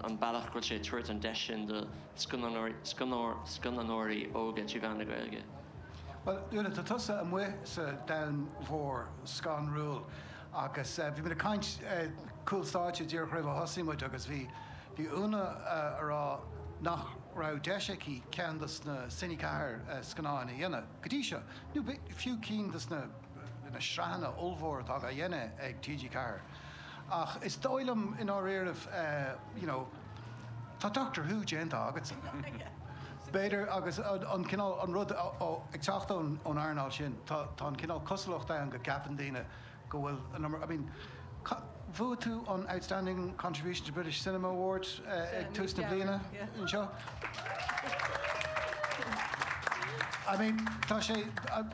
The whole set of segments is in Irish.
an bealach go bhfuil sé ag tabhairt an deis sin do scannánóirí óga trí mheán na Gaeilge. Bhuel, Úna, tá tusa amuigh sa domhan mhór scanrúil agus bhí muid ag caint cúl stáitse díreach roimh a thosaigh muid agus bhí bhí Úna a rá nach raibh deis aici ceann dos na Cine 4 scannáin a dhéanamh go dtí seo, nó fiú cinn dos na na sraitheanna ollmhóra atá á dhéanamh ag TG4. Ach is dóigh liom i ndáiríribh, you know, tá Doctor Who déanta agatsa. B'fhéidir, agus an cineál, an rud ag teacht ón earnáil sin, tá an cineál cosúlacht ann go gceapann daoine go bhfuil an iomar, I mean, bhuaigh tú an Outstanding Contribution to British Cinema Award ag tús na bliana anseo. I mean, tá sé,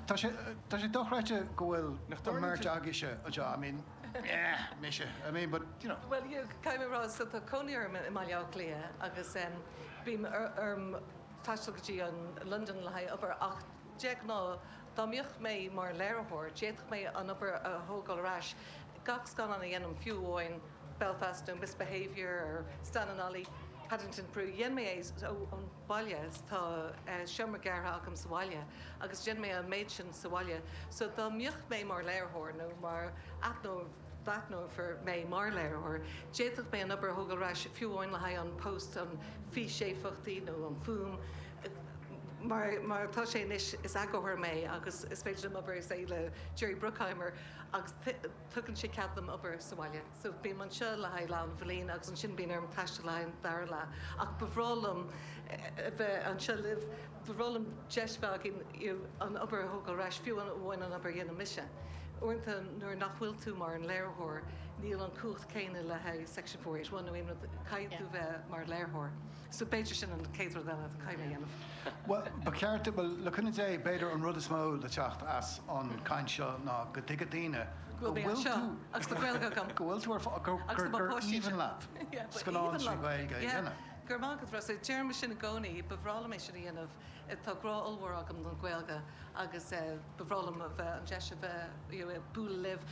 tá sé, tá sé dochreidte go bhfuil an mbeirt agaibhse anseo, I mean, yeah, mise, I mean, but, you know. Well, yeah, caithfidh mé a rá, so tá cónaí orm i mBaile Átha Cliath agus bím orm taisteal go dtí an Londain le haghaidh obair ach de ghnáth dá mbeadh mé mar léiritheoir d'fhéadfadh mé an obair a thógáil ar ais. Gach scannán a dhéanaim, fiú amháin Belfast nó Misbehaviour or Stan and Ollie, Paddington Peru, dhein mé é ón baile, tá seomra gearrtha agam sa bhaile agus dhein mé an méid sin sa bhaile. So dá mbeadh mé mar léiritheoir nó mar d'aithneofar mé mar léiritheoir, d'fhéadfadh mé an obair a thógáil ar ais, fiú amháin le haghaidh an post, an físéifeachtaí nó an fuaim. Mar mar atá sé anois, is eagarthóir mé agus is féidir liom obair, say, le Jerry Bruckheimer agus tugann sé cead dom obair sa bhaile. So bím anseo le haghaidh leath an bhliain agus ansin bíonn orm taisteal le haghaidh an dara leath. Ach ba bhreá liom a bheith anseo libh, ba bhreá liom deis a bheith againn you know an obair a thógáil ar ais, fiú amháin an obair a dhéanann mise. Uaireanta nuair nach bhfuil tú mar an léiritheoir níl an cumhacht céanna le haghaidh Section 481 nó aon rud, caithfidh tú bheith mar léiritheoir. So b'fhéidir sin an chéad rud eile a caithfidh mé a dhéanamh. Bhuel, ba cheart, bhuel, le cúnamh Dé, b'fhéidir an rud is mó le teacht as an chaint seo ná go dtuigfidh daoine go bhfuil tú, agus tá Gaeilge agam, go bhfuil tú ar fáil, gur aoibhinn leat scannán trí Ghaeilge a dhéanamh. Go raibh maith agat, Rossa. Deirim sin i gcónaí, ba bhreá liom é sin a dhéanamh. Tá grá ollmhór agam don Ghaeilge agus ba bhreá liom a bheith, an deis a bheith, you know, bualadh libh.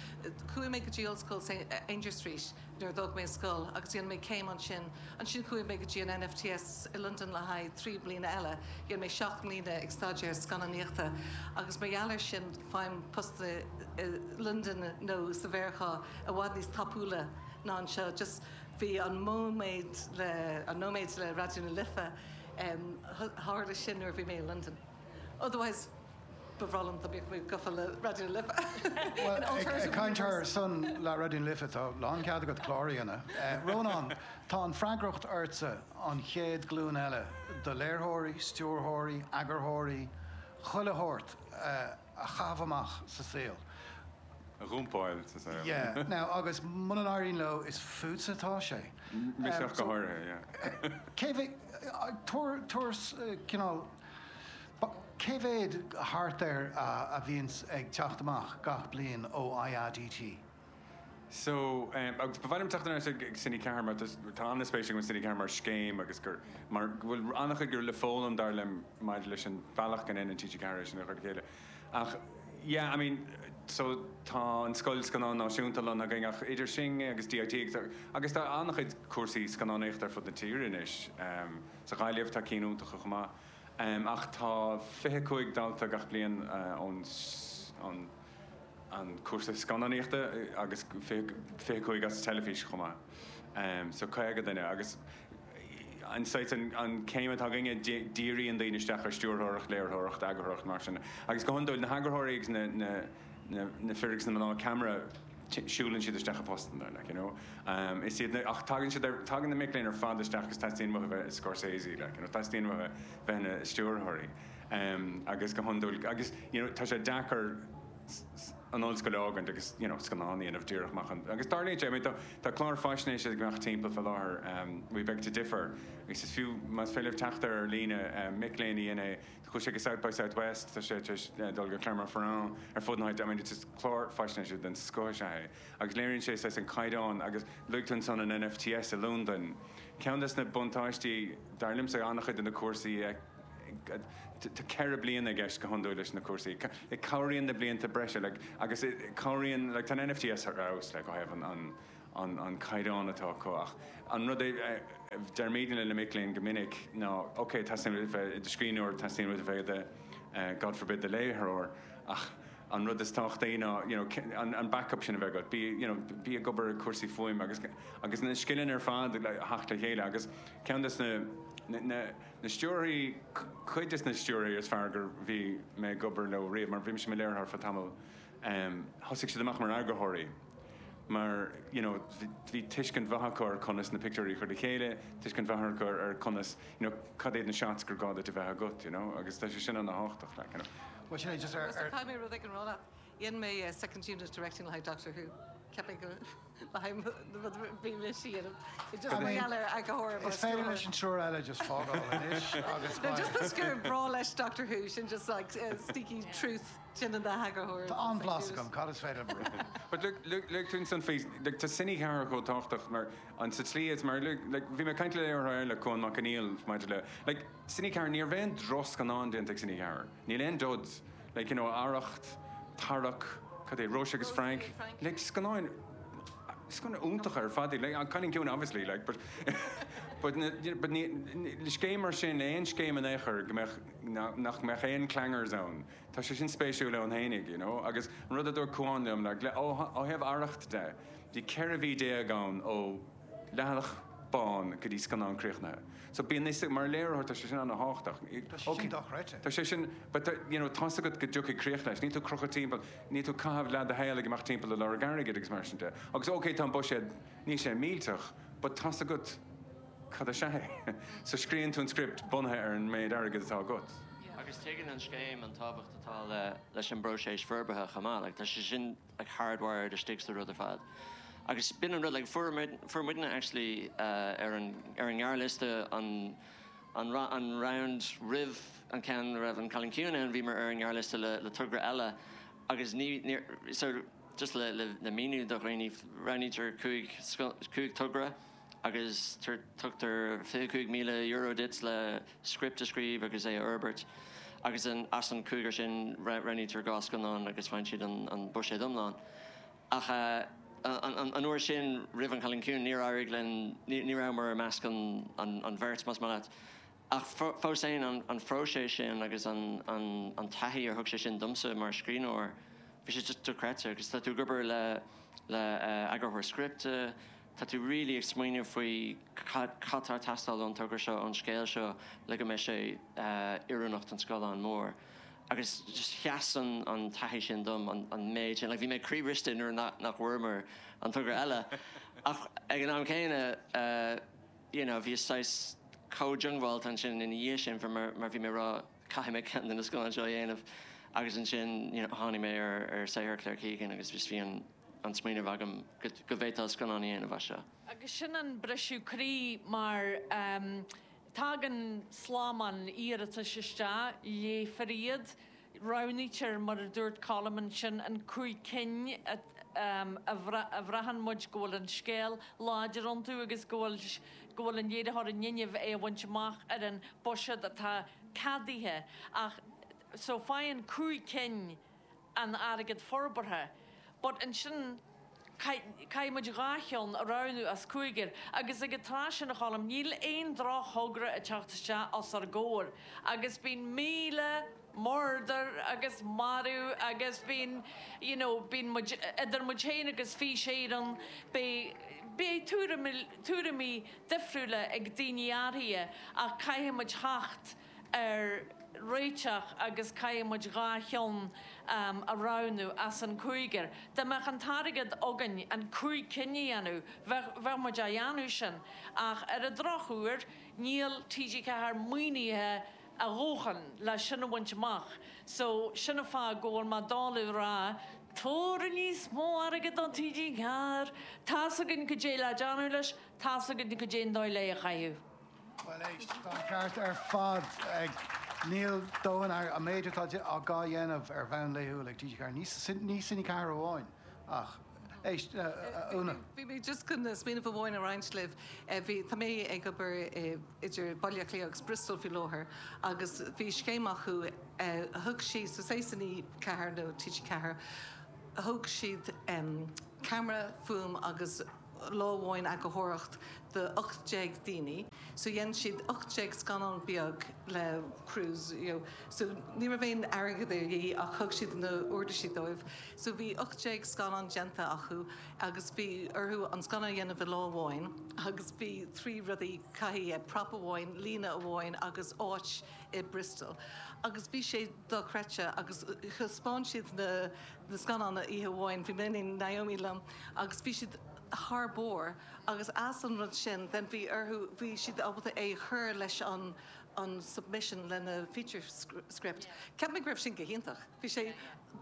Chuaigh mé go dtí Ollscoil Aungier Street nuair a d'fhág mé an scoil agus dhein mé céim ansin. Ansin chuaigh mé go dtí an NFTS i Londain le haghaidh 3 bliana eile. Dhein mé 7 mbliana ag staidéar scannánaíochta agus mar gheall air sin faighim postanna i Londain nó sa Mheiriceá i bhfad níos tapúla ná anseo. Just bhí an móiméad le, an nóiméad le Raidió na Life, tharla sin nuair a bhí mé i Londain. Otherwise. Ba bhreá liom dá mbeadh mé gafa le Raidió na Life. Bhuel, ag caint ar son le Raidió na Life, tá lánchead agat clár a dhéanamh. Rónán, tá an freagracht ortsa an chéad ghlúin eile de léiritheoirí, stiúrthóirí, eagarthóirí, chuile shórt a chaitheamh amach sa saol. A dhumpáil sa saol. Yeah. Now, agus muna n-éiríonn leo, is fútsa atá sé. Mise ach go háirithe, yeah. Cé mhéad, tabhair, tabhair cineál, Cé mhéad thart air a bhíonns ag teacht amach gach bliain ó IADT? So, agus ba mhaith liom teacht ar ais ag Cine 4 mar tá an-spéis agam i Cine 4 mar scéim agus gur, mar go bhfuil an-chuid le foghlaim dar liom maidir leis an bealach go ndéanann TG4 é sin a chur le chéile. Ach yeah, I mean, so tá an Scoil Scannán Náisiúnta lonnaithe againn ach idir sin agus DIT agus, agus tá an-chuid cúrsaí scannánaíochta ar fud na tíre anois. Sa Ghaillimh tá cinn iontacha chomh maith. Ach tá 25 dalta gach bliain ón an cúrsa scannánaíochta agus 25 as teilifís chomh maith. So 50 duine agus an saghas an céim atá againne díríonn daoine isteach ar stiúrthóireacht, léiritheoireacht, eagarthóireacht mar sin. Agus go hiondúil na heagarthóirí agus na na fir agus na mná ceamara siúlann siad isteach i bpostanna, like, you know. Is iad na, ach tagann siad ar, tagann na mic léinn ar fad isteach agus teastaíonn uathu bheith i Scorsese, like, you know, teastaíonn uathu bheith ina stiúrthóirí. Agus go hiondúil, agus, you know, tá sé deacair an ollscoil a fhágaint agus, you know, scannán a dhéanamh díreach amach an, agus tarlaíonn sé, I mean, tá, tá clár faisnéise ag imeacht timpeall fá láthair, We Beg to Differ, agus is fiú, más féidir libh teacht air ar líne, mic léinn a dhein é, Chuaigh sé go South by Southwest, tá sé tar éis dul go Clermont-Ferrand, ar fud na háite, I mean it's just clár faisnéise den scoth is ea é agus léiríonn sé saghas an caighdeán agus luaigh tú ansan an NFTS i Londain. Ceann des na buntáistí, dar liomsa, an-chuid de na cúrsaí, tá 4 bliana i gceist go hiondúil leis na cúrsaí, cabhraíonn na blianta breise like agus cabhraíonn like tá an NFTS ar fheabhas like ó thaobh an an. an an caighdeán atá acu ach an rud a deirimidne le na mic léinn go minic ná ok teastaíonn uait a bheith i do scríbhneoir, teastaíonn uait a bheith i do God forbid do léiritheoir ach an rud is tábhachtaí ná you know an an backup sin a bheith agat, bí you know bí ag obair ar cúrsaí fuaime agus agus na scileanna ar fad le theacht le chéile agus ceann des na na na na stiúrthóirí cuid des na stiúrthóirí is fearr gur bhí mé ag obair leo riamh mar bhí mise i mo léiritheoir feadh tamall thosaigh siad amach mar eagarthóirí mar you know bhí tuiscint mhaith acu ar conas na pictiúirí a chur le chéile, tuiscint mhaith acu ar conas you know cad iad na shots gur gá duit a bheith agat you know agus tá sé sin ana-thábhachtach like you know. Bhuel sin é just ar ar. Caithfidh mé rud éigin a rá leat. Dhein mé second unit directing le haghaidh Doctor Who. Cheap mé go le haghaidh na rud bhí mise a dhéanamh. Just mar gheall ar eagarthóir Is féidir leis an triúr eile just fágáil anois agus No just toisc gur breá leis Doctor Who sin just like sneaky truth. Déanann na heagarthóirí. Tá an-bhlas agam, cad is féidir liom a rá? But look, look, look, tú ansan faoi, like, tá Cine 4 chomh tábhachtach mar, an, sa tslí is mar, look, like, bhí mé ag caint le léiritheoir eile, Cuan Mac Conghail, maidir le, like, Cine 4, ní raibh aon drochscannán déanta ag Cine 4. Níl aon duds. Like, you know, Arracht, Tarrac, cad é, Róise agus Frank, like, scannáin, scannáin iontacha ar fad iad, like, An Cailín Ciúin obviously, like, but, but, but ní, le scéim mar sin, aon scéim in aon chor go mbeadh, nach mbeadh aon clangers ann. Tá sé sin spéisiúil ann fhéinig, you know, agus an rud a dúirt Cuan liom, like, le, ó, ó thaobh Arracht de, bhí 14 mhí ann ó leathanach bán go dtí scannán críochnaithe. So bíonn níos, mar léiritheoir tá sé sin ana-thábhachtach. Tá sé sin dochreidte. Tá sé sin, but, you know, tá's agat go dtiocfaidh críoch leis, níl tú ag crochadh timpeall, níl tú ag caitheamh leath do shaoil ag imeacht timpeall ag lorg airgid agus mar sin de. Agus ok, tá an buiséad, níl sé millteach, but tá's agat, Cad is ea é? So scríobhann tú an script bunaithe ar an méid airgid atá agat. Agus tuigeann an scéim an tábhacht atá le leis an bpróiseas forbartha chomh maith. Like tá sé sin like hardwired istigh sa rud ar fad. Agus b'in an rud like fuair muid fuair muidne actually ar an ar an ngearrliosta an an an round roimh an ceann a raibh an Cailín Ciúin ann bhíomar ar an ngearrliosta le le togra eile agus ní níor so just le le le míniú do dhaoine roghnaítear 5 5 togra agus tugtar €25,000 duit le script a scríobh agus é a fhorbairt agus as an cúigear sin roghnaítear 2 scannán agus faigheann siad an buiséad iomlán. Ach an uair sin, roimh An Cailín Ciúin, níor éirigh linn, ní rabhamar i measc an bheirt, más maith leat. Ach fós féin, an phróiseas sin agus an taithí a thug sé sin domsa mar scríbhneoir, bhí sé just dochreidte. Agus tá tú ag obair le eagarthóir scripte, tá tú really ag smaoineamh faoi cad tá ag teastáil ón togra seo, ón scéal seo le go mbeidh sé oiriúnach don scáileán mór. Agus just sheas an taithí sin dom, an méid sin. Like bhí mé croíbhriste nuair nach bhfuaireamar an togra eile. Ach ag an am céanna, you know, bhíos saghas chomh diongbháilte ansin ina dhiaidh sin mar mar bhí mé ag rá caithfidh mé ceann de na scannáin seo a dhéanamh agus ansin you know tháinig mé ar ar saothar Claire Keegan agus just bhí an an smaoineamh agam go go bhféadfá scannán a dhéanamh as seo. Agus sin an briseadh croí mar ehm tagann slamán iarratais isteach, léifear iad, Roghnaítear, mar a dúirt Colm ansin, an 5 cinn a bhraitheann muid go bhfuil an scéal láidir iontu agus go bhfuil go bhfuil an léiritheoir in innimh é a bhaint amach ar an buiséad atá ceadaithe. Ach so faigheann 5 cinn an airgead forbartha. But ansin caithfidh muid 2 cheann a roghnú as cúigear. Agus ag an tráth sin, a Choilm, níl aon droch-thogra ag teacht isteach os ár gcomhair. Agus bíonn 1,000 murdar agus marú agus bíonn, you know, bíonn muid, idir muid féin agus Fís Éireann, beidh, beidh tuairimí difriúla ag daoine áirithe ach caithfidh muid theacht ar réiteach agus caithfidh muid 2 cheann a roghnú as an cúigear. Dá mbeadh an t-airgead againn an 5 cinn a dhéanamh, bheadh, bheadh muid á dhéanamh sin. Ach ar an drochuair, níl TG4 maoinithe a dhóthain le sin a bhaint amach. So, sin an fáth go bhfuil mé doiligh a rá, tabhair níos mó airgid do TG4! Tá's againn cad é le déanamh leis, tá's againn cad é an dóigh le é a chaitheamh. Bhuel éist, tá an ceart ar fad ag Níl dóthain airgid, an méid atá á dhéanamh ar bhonn laethúil ag TG4, ní Cine 4 amháin ach, éist, a Úna. Bhí mé just chun smaoineamh amháin a roinnt libh. Bhí, tá mé ag obair idir Baile Átha Cliath agus Bristol faoi láthair agus bhí scéim acu, thug siad, so say Cine 4 nó TG4, thóg siad ceamara, fuaim agus. lá amháin eagarthóireacht do 18 daoine so dhein siad 18 scannán beag le crews you know so ní raibh aon airgead de dhíth ach thug siad na uirlisí dóibh so bhí 18 scannán déanta acu agus bhí orthu an scannán a dhéanamh i lá amháin agus bhí trí rudaí caithfidh prop amháin líne amháin agus áit i Bristol agus bhí sé dochreidte agus thaispeáin siad na na scannáin oíche amháin bhí mé féin Naomi liom agus bhí siad thar barr agus as an rud sin then bhí orthu bhí siad ábalta é a chur leis an an submission lena feature script. Cheap mé go raibh sin go hiontach. Bhí sé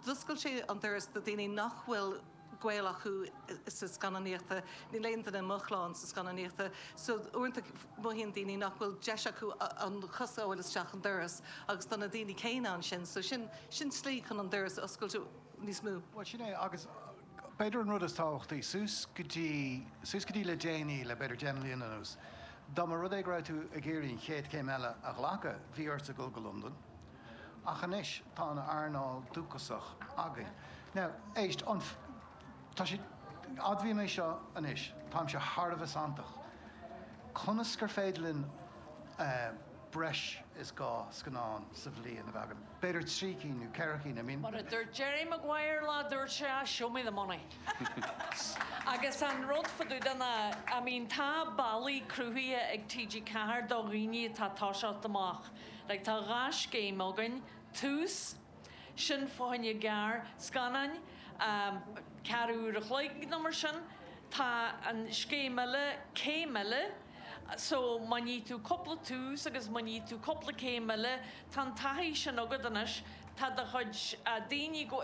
d'oscail sé an doras do daoine nach bhfuil gaol acu sa scannánaíochta, níl aon duine i mo chlann sa scannánaíochta, so uaireanta mothaíonn daoine nach bhfuil deis acu an chos a fháil isteach an doras agus tá na daoine céanna ansin, so sin sin slí chun an doras a oscailt níos mó. Bhuel sin é agus b'fhéidir an rud is tábhachtaí, suas go dtí, suas go dtí le déanaí, le b'fhéidir 10 mbliana anuas, dá mba rud é go raibh tú ag iarraidh an chéad chéim eile a ghlacadh, bhí ort a dhul go Londain. Ach anois tá an earnáil dúchasach againn. Now, éist, an, tá sé, admhaím é seo anois, táimse thar a bheith santach. Conas gur féidir linn breis is 2 scannán sa bhliain a bheith againn? B'fhéidir 3 cinn nó 4 cinn, I mean. Mar a dúirt Jerry Maguire lá, dúirt sé, ah, show me the money. Agus an rud fá dtaobh de ná, I mean, tá bealaí cruthaithe ag TG4 do dhaoine atá ag toiseacht amach. Like tá 2 scéim againn, Tús, sin fá choinne gearr scannáin, ceathrú uair a chloig nó mar sin. Tá an scéim eile, Céim Eile, so má ní tú cúpla tús agus má ní tú cúpla céim eile, tá an taithí sin agat anois, tá do chuid daoine go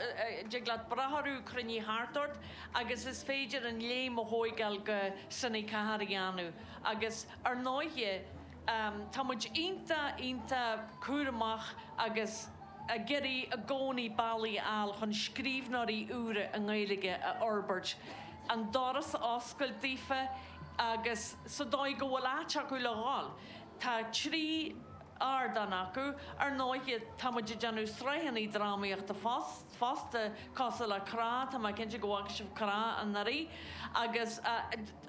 dtig leat brath orthu cruinnithe thart ort agus is féidir an léim a thóigeáil go Cine 4 a dhéanamh agus ar ndóighe, Tá muid iontach, iontach cúramach agus ag iarraidh i gcónaí bealaí a fháil chun scríbhneoirí úra i nGaeilge a fhorbairt, an doras a oscailt daofa agus sa dóigh go bhfuil áit acu le dhul. Tá 3 ardán acu. Ar ndóighe, tá muid ag déanamh sraitheanna drámaíochta fosta, cosúil le Crá, tá mé cinnte go bhfaca sibh Crá anuraidh, agus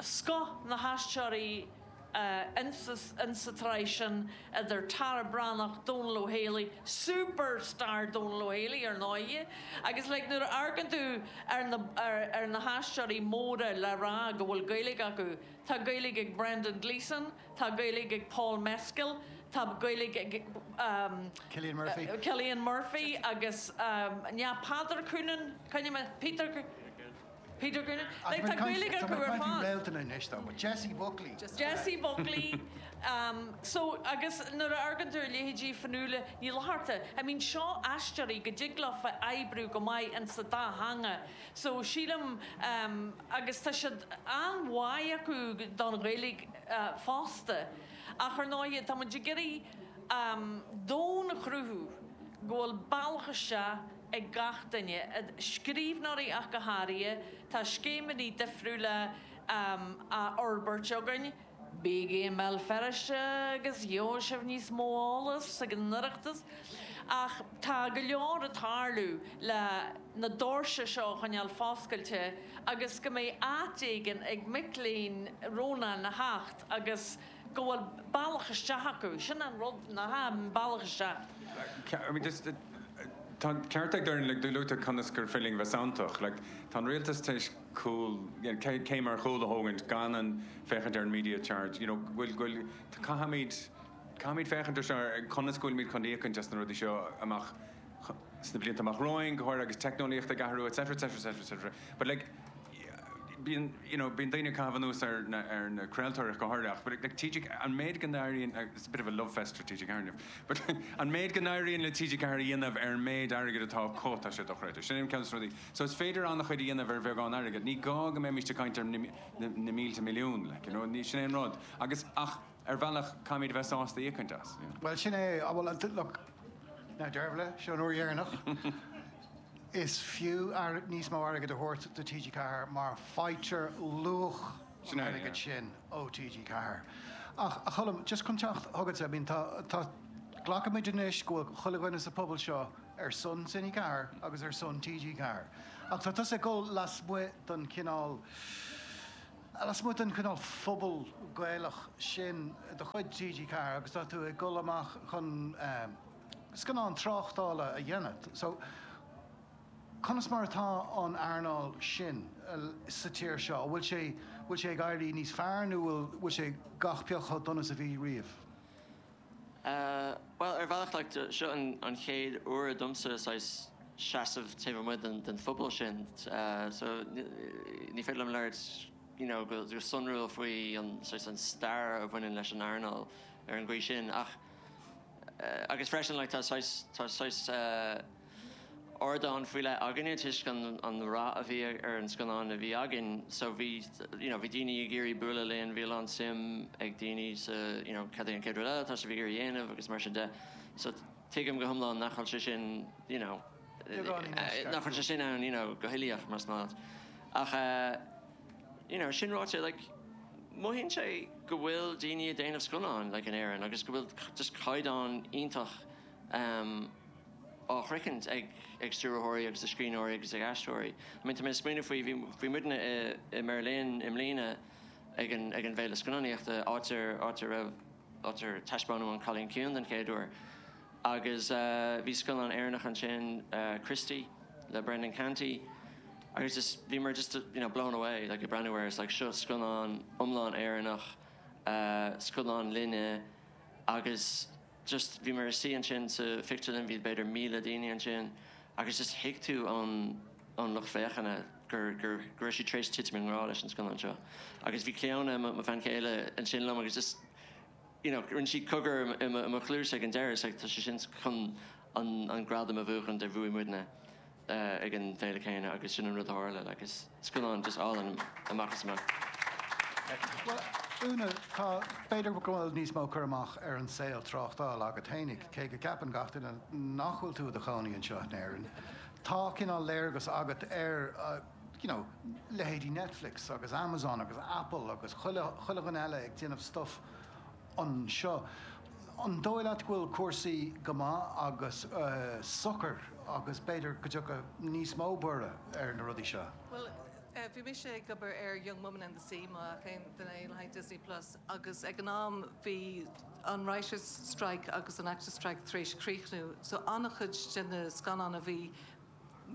scoth na haisteoirí, insa tsraith sin idir Tara Breathnach, Dónal Ó Héalaí, superstar Dónal Ó Héalaí ar ndóighe, agus like nuair a amharcann tú ar na ar na haisteoirí móra le rá go bhfuil Gaeilge acu, tá Gaeilge ag Brendan Gleeson, tá Gaeilge ag Paul Mescal, tá Gaeilge ag Cillian Murphy. Cillian Murphy agus ní Peadar Coonan, coinnigh mé, Peter Peter Coonan. Like tá Gaeilge acu ar fad. Réaltanna anois though, but Jessie Buckley. Jessie Buckley. So agus nuair a amharcann tú ar leithéidí Fionnuala Ní Fhlatharta, I mean seo aisteoirí go dtig leofa oibriú go maith insa dá theanga. So sílim agus tá siad an-mhaith acu don Ghaeilge fosta. Ach ar ndóighe tá muid ag iarraidh domhan a chruthú go bhfuil bealach isteach ag gach duine, scríbhneoirí ach go háirithe. Tá scéimeanna difriúla á fhorbairt againn. Bígí i mBéal Feirste agus gheobhaidh sibh níos mó eolas ag an Oireachtas. Ach tá go leor ag tarlú le na doirse seo a choinneáil foscailte agus go mbeidh áit éigin ag mic léinn Rónáin a theacht agus go bhfuil bealach isteach acu. Sin an rud, nach ea, an bealach isteach. I mean just tá an ceart ag Doireann like luaigh tú conas gur féidir linn bheith santach. Like tá an rialtas tar éis cúl, you know, céim ar chúl a thógaint gan an féachaint ar an media charge, you know, bhfuil bhfuil caithfimid caithfimid féachaint ar seo ar conas go bhfuilimid chun íocaint as na rudaí seo amach sna blianta amach romhainn, go háirithe agus teicneolaíocht ag athrú, etc, etc, etc, etc. But like, bíonn, you know, bíonn daoine ag caitheamh anuas ar na, ar na craoltóirí ach go háirithe ach, but like TG, an méid go n-éiríonn, it's a bit of a love fest for TG4 inniu, but an méid go n-éiríonn le TG4 a dhéanamh ar an méid airgid atá acu, tá sé dochreidte. Sin an ceann de na rudaí. So is féidir an-chuid a dhéanamh ar bheagán airgid. Ní gá go mbeimis ag caint ar na, na, na mílte milliún, like, you know, ní, sin é an rud. Agus, ach, ar bhealach, caithfimid a bheith sásta íocaint as, you know. Bhuel, sin é, bhuel, look, now Dervla, seo an uair dheireanach. Is fiú níos mó airgid a thabhairt do TG4 mar faightear luach an airgid sin ó TG4. Ach, a Cholm, just chun teacht chugatsa, I mean, tá, tá, glacaimid anois go bhfuil chuile dhuine sa phuball seo ar son Cine 4 agus ar son TG4. Ach tá tusa ag dul lasmuigh den chineál. Lasmuigh den chineál phobal Gaelach sin de chuid TG4 agus tá tú ag dul amach chun scannán tráchtála a dhéanamh. So, conas mar atá an earnáil sin sa tír seo? An bhfuil sé, bhfuil sé ag éirí níos fearr nó bhfuil, bhfuil sé gach pioc chomh dona is a bhí riamh? Bhuel, ar bhealach, like, seo an chéad uair domsa saghas seasamh taobh amuigh den phobal sin, so ní féidir liom labhairt, you know, go sonrúil faoi an saghas an stair a bhaineann leis an earnáil ar an gcaoi sin ach, agus freisin, like, tá saghas, tá saghas, ardán faoi leith againne toisc an rath a bhí ar an scannán a bhí againn so bhí you know bhí daoine ag iarraidh bualadh linn, bhí a lán suim ag daoine sa you know cad é an chéad rud eile atá sibh ag iarraidh a dhéanamh agus mar sin de so tuigim go hiomlán nach bhfuil sé sin you know nach bhfuil sé sin ann you know go huilíoch más maith leat ach eh you know sin ráite like mothaíonn sé go bhfuil daoine ag déanamh scannáin like in Éirinn agus go bhfuil just caighdeán iontach em á shroichint ag ag stiúrthóirí agus ag scríbhneoirí agus ag aisteoirí. I mean tá mé ag smaoineamh faoi, bhí bhí muidne i i mBeirlin i mbliana ag an ag an bhFéile Scannánaíochta áit ar áit a raibh áit ar taispeánadh An Cailín Ciúin den chéad uair agus bhí scannán Éireannach ansin Christy le Brendan Canty agus just bhíomar just you know blown away like ag breathnú air it's like seo scannán iomlán Éireannach scannán linne agus just bhíomar istigh ansin sa phictiúrlann, bhí b'fhéidir 1,000 daoine ansin agus just thuig tú ón ón lucht féachana gur gur go raibh siad tar éis titim i ngrá leis an scannán seo. Agus bhí Clíona, mo bhean chéile, ansin liom agus just you know rinne sí cogar i mo i mo chluais ag an deireadh, it's like tá sé sin chun an an gradam a bhuachan a bhuaigh muidne. ag an bhféile céanna agus sin an rud a tharla like is scannán just álainn amach is amach. Bhuel, Úna, tá, b'fhéidir go bhfuil níos mó cur amach ar an saol tráchtála agat fhéinig, cé go gceapann gach duine nach bhfuil tú i do chónaí anseo in Éirinn. Tá cineál léargas agat ar, you know, leithéidí Netflix agus Amazon agus Apple agus chuile, chuile dhuine eile ag déanamh stuff anseo. An dóigh leat go bhfuil cúrsaí go maith agus socair agus b'fhéidir go dtiocfaidh níos mó borradh ar na rudaí seo? Bhuel, bhí mise ag obair ar Young Woman and the Sea, má fhaca aon duine é, le haghaidh Disney Plus agus ag an am bhí an Writers' Strike agus an Actors' Strike tar éis críochnú so an-chuid de na scannáin a bhí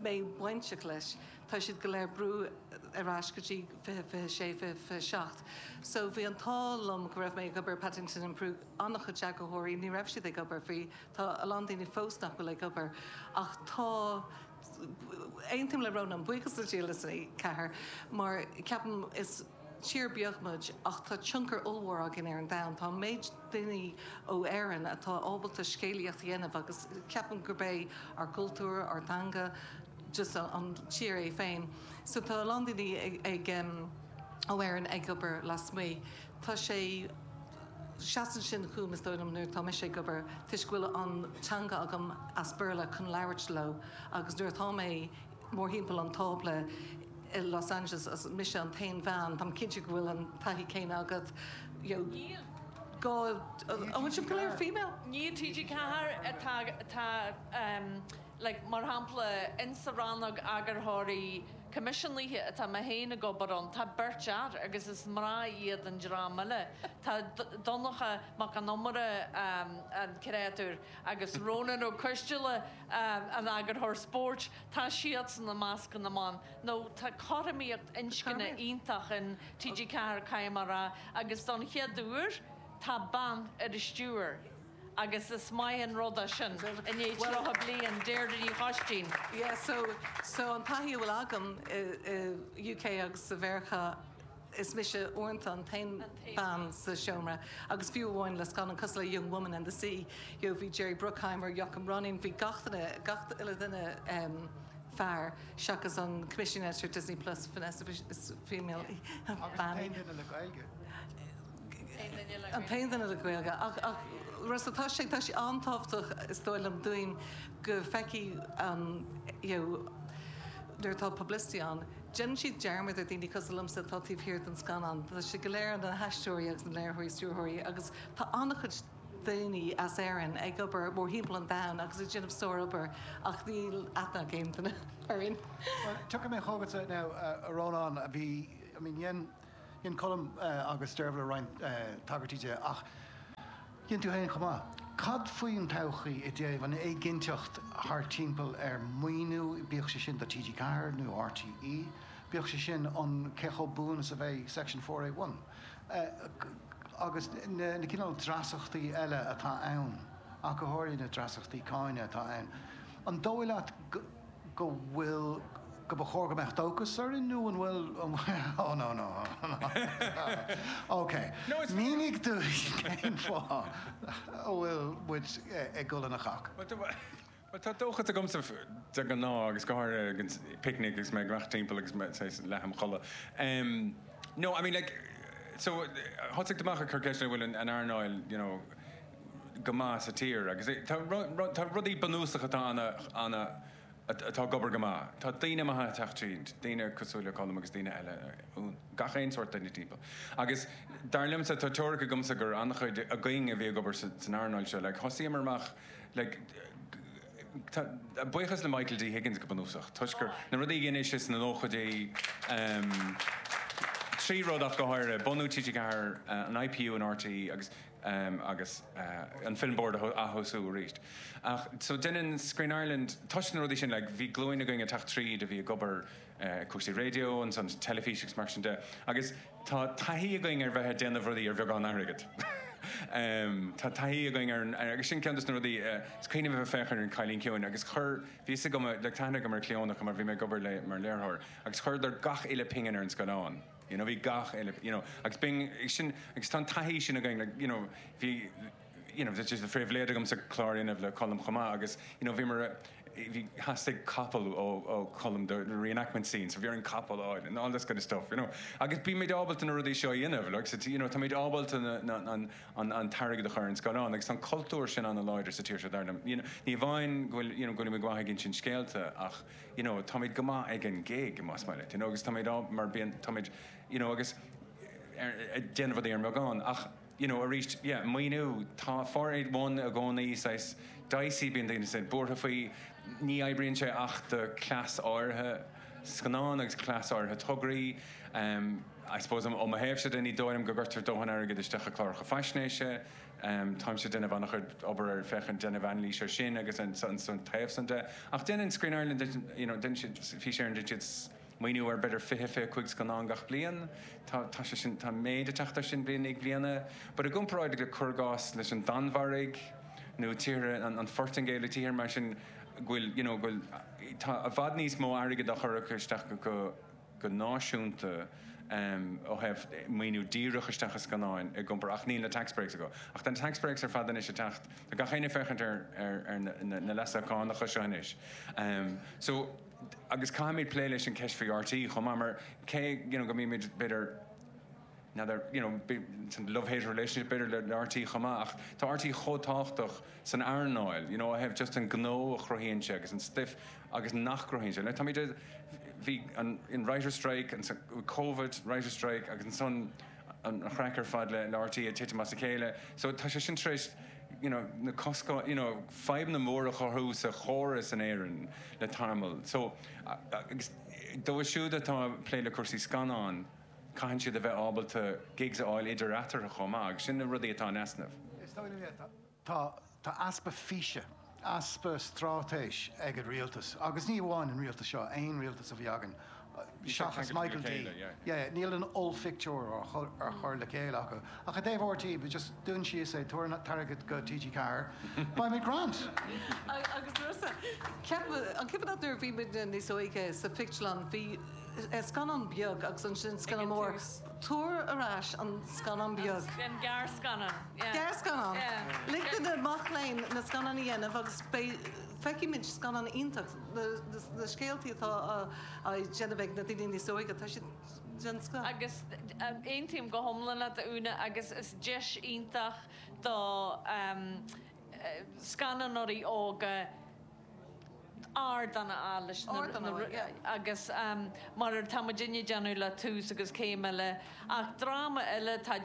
mé bainteach leis, tá siad go léir brú ar ais go dtí 2026, 2027. So bhí an t-ádh liom go raibh mé ag obair ar Paddington in Peru, an-chuid eagarthóirí, ní raibh siad ag obair, bhí, tá a lán daoine fós nach bhfuil ag obair ach tá, aontaím le Rónán, buíochas le Dia le TG4 mar ceapaim is tír beag muid ach tá tionchar ollmhór againn ar an domhan, tá an méid daoine ó Éirinn atá ábalta scéalaíocht a dhéanamh agus ceapaim gurb é ár gcultúr, ár dteanga, just an tír é féin. So tá a lán daoine ag ó Éirinn ag obair lasmuigh. Tá sé, seasann sin chugam is dóigh liom nuair atá mise ag obair toisc go bhfuil an teanga agam as Béarla chun labhairt leo agus nuair atá mé mórthimpeall an tábla i Los Angeles is mise an t-aon bhean, táim cinnte go bhfuil an taithí céanna agat, you know, go, an bhfuil sibh go léir female? Ní TG4 atá, atá like mar shampla in sa rannóg eagarthóirí coimisiúnaithe atá mé féin ag obair ann, tá beirt fhear agus is mná iad an dream eile. Tá Donncha Mac Con Iomaire an créatúr agus Rónán Ó Coistealbha an eagarthóir spóirt, tá siadsan i measc na mban. Nó tá cothromaíocht inscne iontach in TG4, caithfidh mé a rá, agus don chéad uair tá bean ar an stiúir agus is maith an rud é sin i ndiaidh 30 bliain, Deirdre Ní Choistín. Yeah, so, so an taithí a bhfuil agam i UK agus sa Mheiriceá, Is mise uaireanta an t-aon bean sa seomra agus fiú amháin le scannán cosúil le Young Woman and the Sea, you know, bhí Jerry Bruckheimer, Joachim Rønning, bhí gach duine, gach uile duine fear seachas an Commissioning Editor Disney Plus, Vanessa, is female í, Agus an t-aon duine le Gaeilge. An t-aon duine le Gaeilge. Ach, ach, Rossa, tá sé, tá sé an-tábhachtach is dóigh liom dúinn go bhfeicfidh an, you know, nuair atá publicity ann, Déanann siad dearmad ar daoine cosúil liomsa atá taobh thiar den scannán. Tá siad go léir na haisteoirí agus na léiritheoirí, stiúrthóirí agus tá an-chuid daoine as Éirinn ag obair mórthimpeall an domhain agus ag déanamh sár-obair ach níl aithne ag aon duine orainn. Bhuel, tiocfaidh mé chugatsa now, a Rónáin, a bhí, I mean, dhein. Dhein Colm agus Deirbhile roinnt tagairtí di ach dhein tú féin chomh maith. Cad faoin todhchaí i dtaobh an éiginnteacht thart timpeall ar maoiniú, bíodh sé sin do TG4 nó RTÉ, bíodh sé sin an cé chomh buan is a bheidh Section 4A1 agus na cineál dreasachtaí eile atá ann, ach go háirithe na dreasachtaí cáine atá ann. An dóigh leat go bhfuil, go ba chóir go mbeadh dóchas orainn nó an bhfuil, oh no no ok, mínigh dúinn cén fáth a bhfuil muid ag dul ina chac. Bhuel tá dóchas agamsa de ghnáth agus go háirithe ag an picnic agus mé ag imeacht timpeall agus mé saghas leath im chodladh. No, I mean like, so thosaigh tú amach ag cur ceist an bhfuil an earnáil, you know, go maith sa tír agus tá tá rudaí bunúsacha atá ana ana atá ag obair go maith. Tá daoine maithe ag teacht tríd, daoine cosúil le Colm agus daoine eile, gach aon sórt duine timpeall. Agus dar liomsa, tá teoiric agamsa gur an-chuid againn a bhí ag obair san earnáil seo, like thosaíomar amach like tá buíochas le Michael D Higgins go bunúsach toisc gur na rudaí a dhein sé sna nóchaidí, 3 rud ach go háirithe, bunú TG4, an IPU in RTÉ agus agus an Film Board a aththosú arís. Ach so déanann Screen Ireland, toisc na rudaí sin, like bhí glúin againn ag teacht tríd a bhí ag obair cúrsaí raidió, ansan teilifís agus mar sin de agus tá taithí againn ar bheith ag déanamh rudaí ar bheagán airgid. Tá taithí againn ar an, agus sin ceann de na rudaí, is cuimhin liom a bheith ag féachaint ar An Cailín Ciúin agus chuir, bhí fhios agam, like tá aithne agam ar Clíona mar bhí mé ag obair léi mar léiritheoir agus chuireadar gach uile pingin ar an scáileán. You know, bhí gach uile, you know, agus b'in, sin, agus tá an taithí sin againn, like, you know, bhí, you know, just phribhléid agamsa clár a dhéanamh le Colm chomh maith agus, you know, bhíomar, bhí, theastaigh capall ó, ó Colm do reenactment scene, so bhí orainn capall a fháil and all this kind of stuff, you know. Agus bímid ábalta na rudaí seo a dhéanamh, like, so, you know, táimid ábalta na, na, an, an, an t-airgead a chur ar an scáileán agus tá an cultúr sin an-láidir sa tír seo dar liom. You know, ní amháin go bhfuil, you know, go bhfuilimid go maith ag insint scéalta ach, you know, táimid go maith ag an gig, más maith leat, you know, agus táimid á, mar bíonn, táimid, you know, agus ar, ag déanamh rudaí ar an mbeagán ach, you know, arís, yeah, maoiniú, tá 481 i gcónaí saghas dicey, bíonn daoine saghas buartha faoi, ní oibríonn sé ach do cleas áirithe scannán agus cleas áirithe tograí, um, I suppose ó mo thaobhsa de ní dóigh liom go gcuirtear dóthain airgid isteach i cláracha faisnéise, Táimse ag déanamh an-chuid obair ar féachaint déanamh anailís ar sin agus an taobh san de. Ach déanann Screen Ireland, you know, déanann siad, Fís Éireann, déanann siad maoiniú ar b'fhéidir 20, 25 scannán gach bliain. Tá, tá sé sin, tá méid ag teacht air sin bliain i ndiaidh bliana. But i gcomparáid le cuir i gcás leis an Danmhairg nó tíortha, an Phortaingéil, tíortha mar sin go bhfuil, you know, go bhfuil, tá i bhfad níos mó airgid á chur acu isteach go, go náisiúnta ó thaobh maoiniú díreach isteach i scannáin i gcompar ach níl na tax breaks acu. Ach tá na tax breaks ar fad anois ag teacht, tá gach éinne ag féachaint ar ar na leasuithe cánacha seo anois. So agus caithfimid plé leis an ceist faoi RTÉ chomh maith mar cé you know go mbímid b'fhéidir n'fheadar you know love-hate relationship b'fhéidir le RTÉ chomh maith ach tá RTÉ chomh tábhachtach san earnáil, you know, ó thaobh just an gnó a chruthaíonn sé agus an stuif agus nach gcruthaíonn sé. Like, táimid ag, bhí an, an writer's strike, an Covid, writer's strike agus ansan an chraic ar fad le, le RTÉ ag titim as a chéile. So tá sé sin tar éis, you know, na coscáin, you know, fadhbanna móra a chruthú sa chóras in Éirinn le tamall. So, agus dóibh siúd atá ag plé le cúrsaí scannán, caitheann siad a bheith ábalta gigs a fháil idir eatarthu chomh maith agus sin na rudaí atá in easnamh. Is dóigh liom, yeah, tá, tá easpa físe, easpa straitéis ag an rialtas, agus ní amháin an rialtas seo, aon rialtas a bhí againn seachas Michael D. Yeah, níl an ollphictiúr á chur le chéile acu. Ach i dtaobh RTÉ, just dún síos é, tabhair an t-airgead go TG4, beimid grand! Agus Rossa, ceapaim, an cuimhin leat nuair a bhí muidne níos óige sa phictiúrlann, bhí scannán beag agus ansin scannán mór. Tabhair ar ais an scannán beag. An gearrscannán. Gearrscannán. Lig do na mac léinn na scannáin a dhéanamh agus beidh, feicfimid scannán iontach. Na scéaltaí atá á déanamh ag na daoine níos óige, tá siad den scoth. Agus aontaím go hiomlán leat, a Úna, agus is deis iontach do scannánóirí óga ardán a fháil leis na agus mar atá muidinne ag déanamh le Tús agus Céim Eile ach dráma eile atá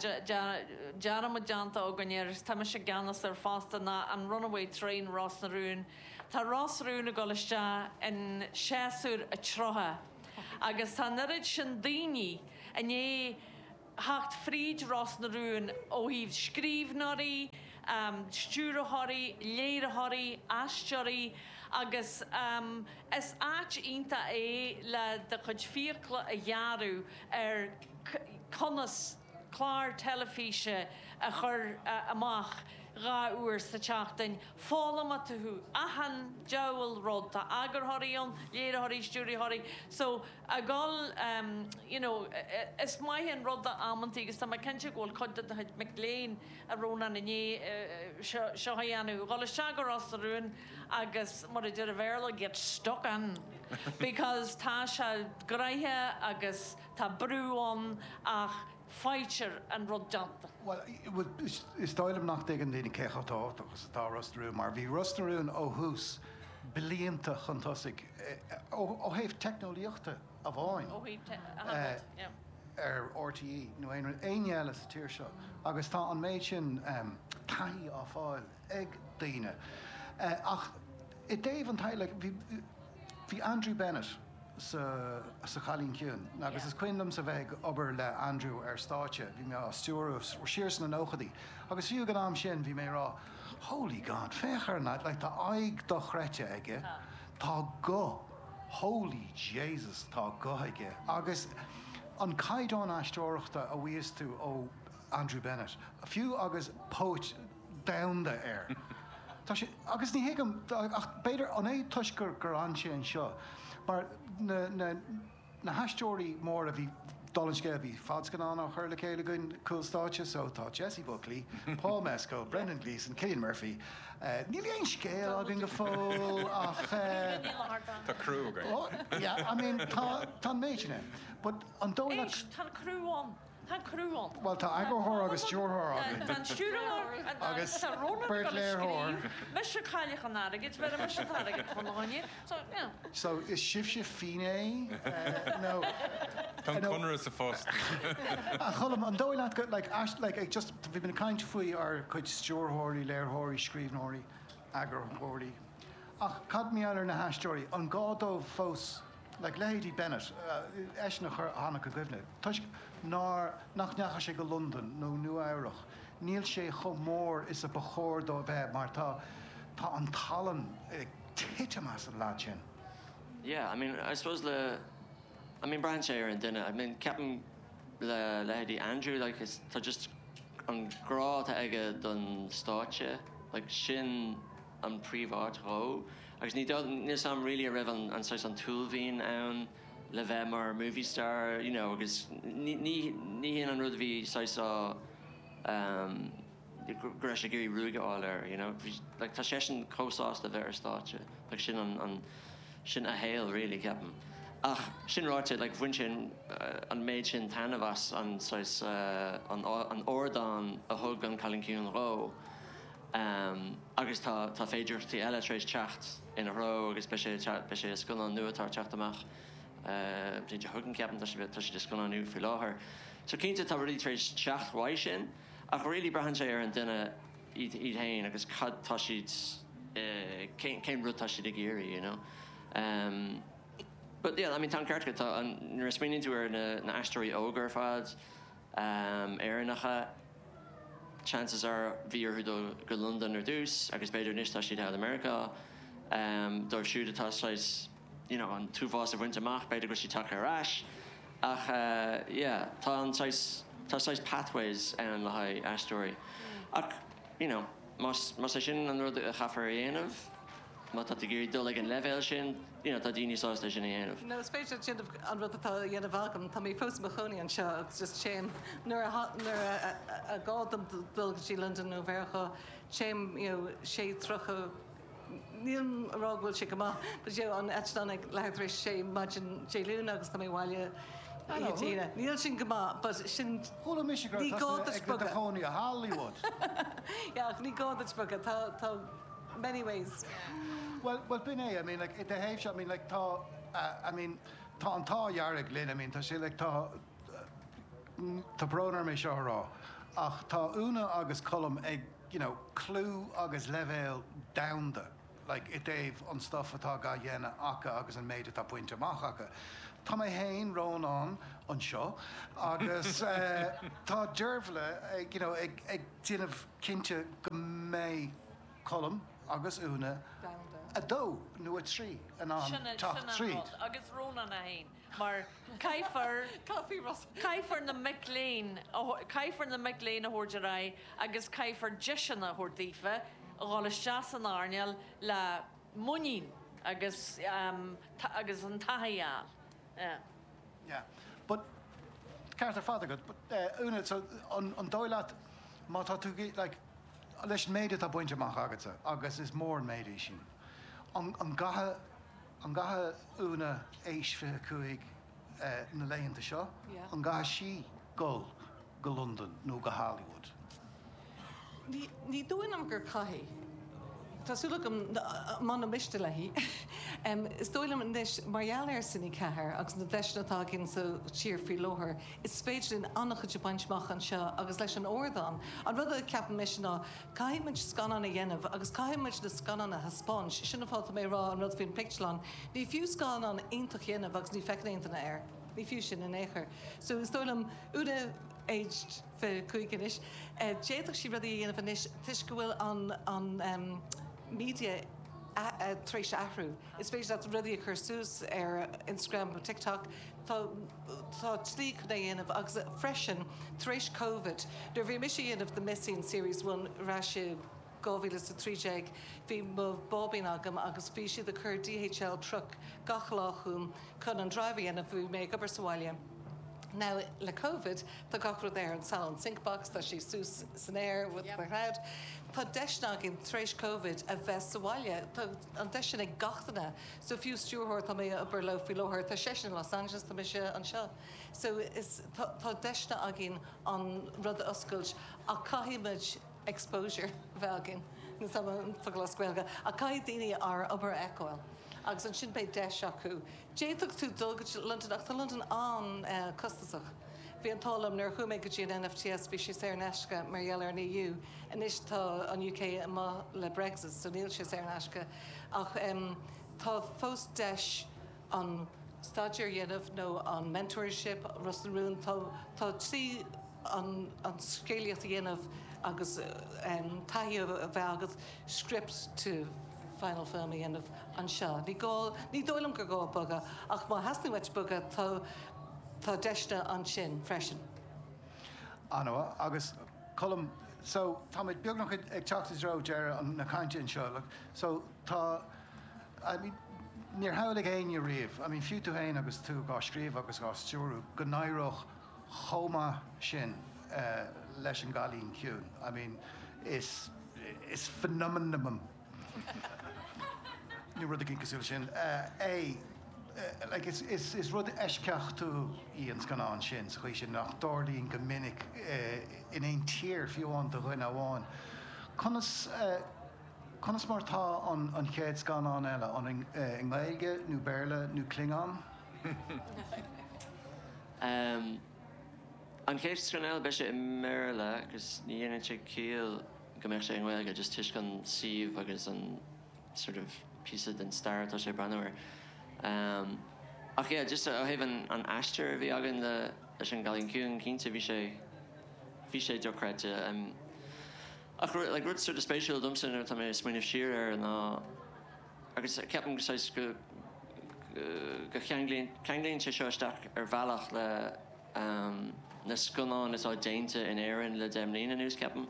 dearmad déanta againn air agus tá mise i gceannas air fosta ná an Runaway Train Ros na Rún. Tá Ros na Rún ag dul isteach in séasúr a 30 agus tá an oiread sin daoine i ndiaidh. theacht fríd Ros na Rún ó thaobh scríbhneoirí, stiúrthóirí, léiritheoirí, aisteoirí agus is áit iontach é le do chuid fiacla a ghearradh ar conas clár teilifíse a chur amach 2 uair sa tseachtain. Foghlaimeoidh tú achan diabhal rud. Tá eagarthóirí ann, léiritheoirí, stiúrthóirí. So, a dhul, you know, is maith an rud amantaí agus tá mé cinnte go bhfuil cuid de do chuid mic léinn, a Rónáin, i ndiaidh seo a dhéanamh, dhul isteach go Ros na Rún agus, mar a deir an Bhéarla, get stuck in because tá sé gnoitheach agus tá brú ann ach faightear an rud déanta. Bhuel, is dóigh liom nach dtuigeann daoine cé chomh tábhachtach is atá Ros na Rún mar bhí Ros na Rún ó thús blianta chun tosaigh ó thaobh teicneolaíochta amháin ar RTÉ nó aon rud, éinne eile sa tír seo agus tá an méid sin taithí á fáil ag daoine. Ach i dtaobh an taithí, like, bhí Andrew Bennett sa sa Chailín Ciúin agus is cuimhin liomsa bheith ag obair le Andrew ar stáitse, bhí mé á stiúradh siar sna nóchaidí agus fiú ag an am sin bhí mé ag rá Holy God, féach ar an lad, like tá aghaidh dochreidte aige, tá guth, holy Jesus tá guth aige agus an caighdeán aisteoireachta a bhfaigheas tú ó Andrew Bennett, fiú agus póit domhanda air. Tá sé, agus ní thuigim, ach b'fhéidir, an é toisc gur gur fhan sé anseo, mar na, na, na haisteoirí móra bhí, dála an scéil, bhí fadscannán á chur le chéile againn, Cúl Stáitse, so tá Jessie Buckley, Paul Mescal, Brendan Gleeson, Cillian Murphy, níl aon scéal againn go fóill ach. Tá criú againn. Oh, yeah, I mean, tá, tá an méid sin ann. But an dóigh leat. Éist, tá an criú ann. Tá an criú ann. Bhuel, tá eagarthóir agus stiúrthóir againn. Tá an stiúrthóir agus tá Rónán beirt ag dul a léiritheoir. scríobh. Mise cailleach an airgid, bheir mise an t-airgead fán fháinne. So, yeah. So, is sibhse finné nó. Tá an conradh sa phost. A Cholm, an dóigh leat go, like, like, ag just, bhí muid ag caint faoi ár gcuid stiúrthóirí, léiritheoirí, scríbhneoirí, eagarthóirí. Ach cad mar gheall ar na haisteoirí? An gá dóibh fós Like leithéidí Bennett, eisean a chuir, a tháinig i gcuimhne, toisc nár, nach ndeachaigh sé go Londain nó Nua Eabhrach, níl sé chomh mór is a ba chóir dó a bheith mar tá, tá an tallann ag titim as an leaid sin. Yeah, I mean, I suppose le, I mean braitheann sé ar an duine. I mean, ceapaim le leithéidí Andrew, like is, tá just an grá atá aige don stáitse, like sin an príomháit dhó agus ní níl 'fhios a'm really an raibh an saghas an t-uaillmhian ann le bheith mar movie star you know agus ní ní ní hin an rud a bhí saghas á um go raibh sé ag iarraidh ruaig a fháil air you know bhí like tá seisean chomh sásta bheith ar stáitse like sin an an sin a shaol really ceapaim ach sin ráite like bhain sé an an méid sin taitneamh as an saghas an an ardán a thug an Cailín Ciúin dhó. Agus tá tá féidearthachtaí eile tar éis teacht ina threo agus beidh sé beidh sé i scannán nua atá ag teacht amach an bhliain seo chugainn ceapaim, tá sé tá siad ag scannánú faoi láthair. So cinnte tá rudaí tar éis teacht uaidh sin ach really braitheann sé ar an duine iad iad féin agus cad tá siad cén cén rud tá siad ag iarraidh you know. But yeah I mean tá an ceart agat tá an nuair a smaoiníonn tú ar na na aisteoirí óga ar fad Éireannacha, chances are bhí orthu dul go Londain ar dtús agus b'fhéidir anois tá siad thall i Meiriceá. Dóibh siúd atá saghas you know an t-uafás a bhaint amach b'fhéidir go bhfuil siad tagtha ar ais ach yeah tá an saghas tá saghas pathways ann le haghaidh aisteoirí ach you know más más é sin an rud a chaithfear a dhéanamh Má tá tú ag iarraidh dul ag an leibhéal sin, you know, tá daoine sásta é sin a dhéanamh. No, is féidir leat déanamh an rud atá á dhéanamh agam. Tá mé fós i mo chónaí anseo agus just téim nuair a nuair a a gá dom dul go dtí Londain nó Mheiriceá, téim, you know, 6:30, nílim a rá go bhfuil sé go maith, but you know, an eitleán ag leathuair tar éis a sé maidin Dé Luain agus tá mé abhaile oíche Dé hAoine. Níl sin go maith, but sin, Chuala mise go ní raibh gá tusa duit ag do bogadh. chónaí i Hollywood. Yeah, ach ní gá duit bogadh. Tá, tá. many ways. Well, well b'in é, I mean like i do thaobhse, I mean like tá, I mean tá an t-ádh dearg linn, I mean tá sé like tá, tá brón orm é seo a rá ach tá Úna agus Colm ag, you know, clú agus leibhéal domhanda. like, i dtaobh an stuff atá dhá dhéanamh acu agus an méid atá bainte amach acu. Tá mé féin, Rónán, anseo agus tá Deirbhile ag, you know, ag, ag déanamh cinnte go mbeidh Colm agus Úna 2 nó 3 in ann teacht tríd. Agus Rónán 1, mar caithfear, caithfear na mic léinn, caithfear na mic léinn a thabhairt ar aghaidh agus caithfear deiseanna a thabhairt daofa a dhul isteach san earnáil le muinín agus, agus an taithí a fháil. Yeah. But, ceart ar fad agat, but Úna, so an dóigh leat má tá tú, like, leis an méid atá bainte amach agatsa, agus is mór an méid é sin, an gcaithfidh, an gcaithfidh Úna aois 25 na laethanta seo, an gcaithfidh sí dul go Londain nó go Hollywood? Ní dóigh liom gur caithfidh. Tá súil agam muna miste léi. Is dóigh liom anois, mar gheall ar Cine 4 agus na deiseanna atá againn sa tír faoi láthair, is féidir linn an-chuid a bhaint amach anseo agus leis an ardán. An rud a ceapann mise ná, caithfidh muid scannáin a dhéanamh agus caithfidh muid na scannáin a thaispeáint. Sin an fáth atá mé ag rá an rud faoin pictiúrlann. Ní fiú scannán iontach a dhéanamh agus ní feiceann aon duine air. Ní fiú sin in aon chor. So is dóigh liom, Úna aged 25 anois, d'fhéadfadh sí rudaí a dhéanamh anois toisc go bhfuil an an media tar éis athrú. Is féidir leat rudaí a chur suas ar Instagram nó TikTok. Tá tá slí chun é a dhéanamh agus freisin tar éis Covid, nuair a bhí mise a dhéanamh The Missing Series 1 ar ais i 2013, bhí mo bháibín agam agus bhí siad ag cur DHL truck gach lá chugam chun an drive a dhéanamh, bhí mé ag obair sa bhaile. Now le Covid tá gach rud ar an Salon Sync Box, tá sé suas san aer with the cloud. Tá deiseanna againn tar éis Covid a bheith sa bhaile, tá an deis sin ag gach duine. So fiú stiúrthóir tá mé ag obair leo faoi láthair, tá seisean in Los Angeles, tá mise anseo. So is tá tá deiseanna againn an rud a oscailt ach caithfidh muid exposure a bheith againn, níl 's agam an focal as Gaeilge, ach caithfidh daoine ár obair a fheiceáil agus ansin beidh deis acu. D'fhéadfadh tú dul go dtí Londain ach tá Londain an-costasach. Bhí an t-ádh liom nuair a chuaigh mé go dtí an NFTS bhí sé saor in aisce mar gheall ar an EU. Anois tá an UK amuigh le Brexit so níl sé saor in aisce ach tá fós deis an staidéar a dhéanamh nó an mentorship, Ros na Rún, tá tá tslí an an scéalaíocht a dhéanamh agus taithí a bheith agat script to final film a dhéanamh anseo. Ní gá, ní dóigh liom gur gá bogadh ach má theastaíonn uait bogadh tá tá deiseanna ansin freisin. An-mhaith. Agus Colm, so táimid beagnach ag teacht i dtreo deireadh na cainte anseo. Look, so tá, I mean, níor shamhlaigh éinne riamh, I mean fiú tú féin agus tú dhá scríobh agus dhá stiúrú, go n-éireodh chomh maith sin leis an gCailín Ciúin. I mean, is, is phenomenon nó rud éigin cosúil sin é. Like, is, is, is rud eisceachtúil í an scannán sin sa chaoi sin nach dtarlaíonn go minic in aon tír, fiú amháin do dhuine amháin. Conas, conas mar tá an, an chéad scannán eile? An i nGaeilge nó Béarla nó Klingon? An chéad scannán eile, beidh sé i mBéarla agus ní dhéanann sé ciall go mbeadh sé i nGaeilge just toisc an suíomh agus an sort of píosa den stair atá sé ag breathnú air. Ach yeah, just ó thaobh an an aistir a bhí againn le leis an gCailín Ciúin, cinnte bhí sé bhí sé dochreidte. Ach like rud sort of spéisiúil domsa nuair atá mé ag smaoineamh siar air ná Agus ceapaim go saghas go go cheanglaíonn ceanglaíonn sé seo isteach ar bhealach le na scannáin atá déanta in Éirinn le 10 mbliana anuas, ceapaim.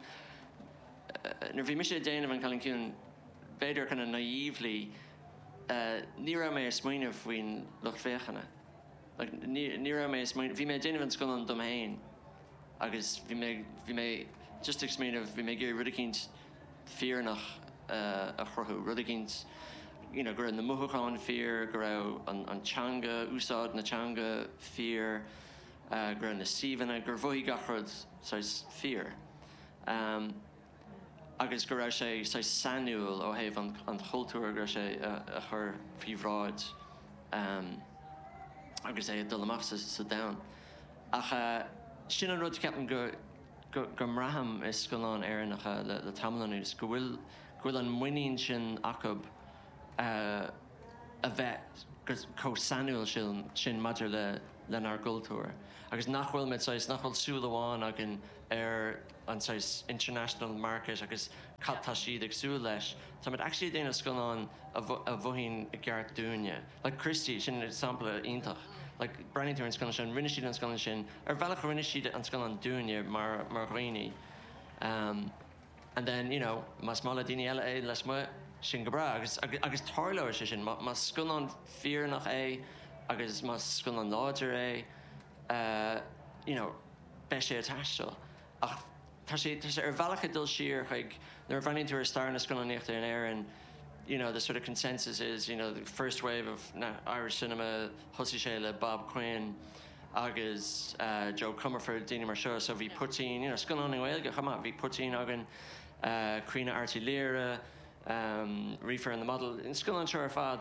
Nuair a bhí mise ag déanamh An Cailín Ciúin, b'fhéidir kind of naively, ní raibh mé ag smaoineamh faoin lucht féachana. Like ní ní raibh mé ag smaoineamh, bhí mé ag déanamh an scannán dom féin agus bhí mé bhí mé just ag smaoineamh, bhí mé ag iarraidh rud eicínt fírinneach a chruthú, rud eicínt you know go raibh na mothúcháin fíor, go raibh an an teanga, úsáid na teanga fíor, go raibh na suíomhanna, gur mhothaigh gach rud saghas fíor. Agus go raibh sé saghas sainiúil ó thaobh an an chultúir go raibh sé a chur faoi bhráid agus é ag dul amach sa sa domhan. Ach sin an rud ceapaim go go mbraithim i scannáin Éireannacha le tamall anuas, go bhfuil, go bhfuil an muinín sin acu. a bheith chomh sainiúil sin maidir le lenár gcultúr agus nach bhfuil muid saghas, nach bhfuil súil amháin againn ar an saghas international market agus cad tá siad ag súil leis. Táimid actually ag déanamh scannán a mhothaíonn i gceart dúinne. Like Christy, sin sampla iontach. Like breathnaíonn tú ar an scannán sin, rinne siad an scannán sin, ar bhealach rinne siad an scannán dúinne mar mar dhaoine. Um, And then, you know, más maith le daoine eile é lasmuigh, sin go breá. Agus, agus tarlóidh sé sin. Má, más scannán fírinneach é agus más scannán láidir é, eh, you know, beidh sé ag taisteal. Ach tá sé, tá sé ar bhealach ag dul siar chuig, nuair a bhreathnaíonn tú ar stair na scannánaíochta in Éirinn, you know, the sort of consensus is, you know, the first wave of Irish cinema, thosaigh sé le Bob Quinn, agus Joe Comerford, daoine mar seo. So bhí poitín, you know, scannáin i nGaeilge chomh maith, bhí poitín againn, Caoineadh Airt Uí Laoghaire, Reefer and the Model, na scannáin seo ar fad